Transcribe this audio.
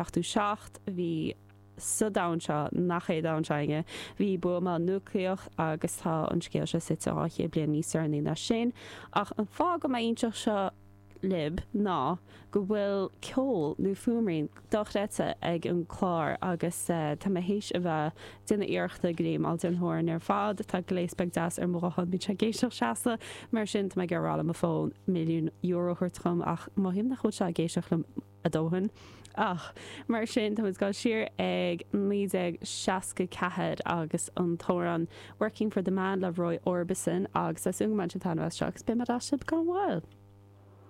77, bhí sa domhan seo, nach é domhan seo againne, bhí buamáil núicléach agus tá an scéal seo suite 200 bliain níos deireanaí ná sin. Ach an fáth go bhfuil mé ag inseacht seo libh ná go bhfuil ceol nó fuaimrian dochreidte ag an clár agus tá mé théis a bheith ag déanamh iarrachta go dtí m'Ailtéar Horan ar fad. Tá gléas beag deas ar mo ghuthán, bíonn sé ag éisteacht seasta, mar sin tá mé ag rá le mo fón €1,000,000 a thabhairt dhom ach mothaím nach bhfuil sé ag éisteacht liom a dóthain. Ach mar sin, tá muid ag dul siar ag 1964 agus an t-amhrán Working for the Man le Roy Orbison agus tá súil agam go mbainfidh sibh taitneamh as seo agus beidh mé ar ais libh gan mhoill.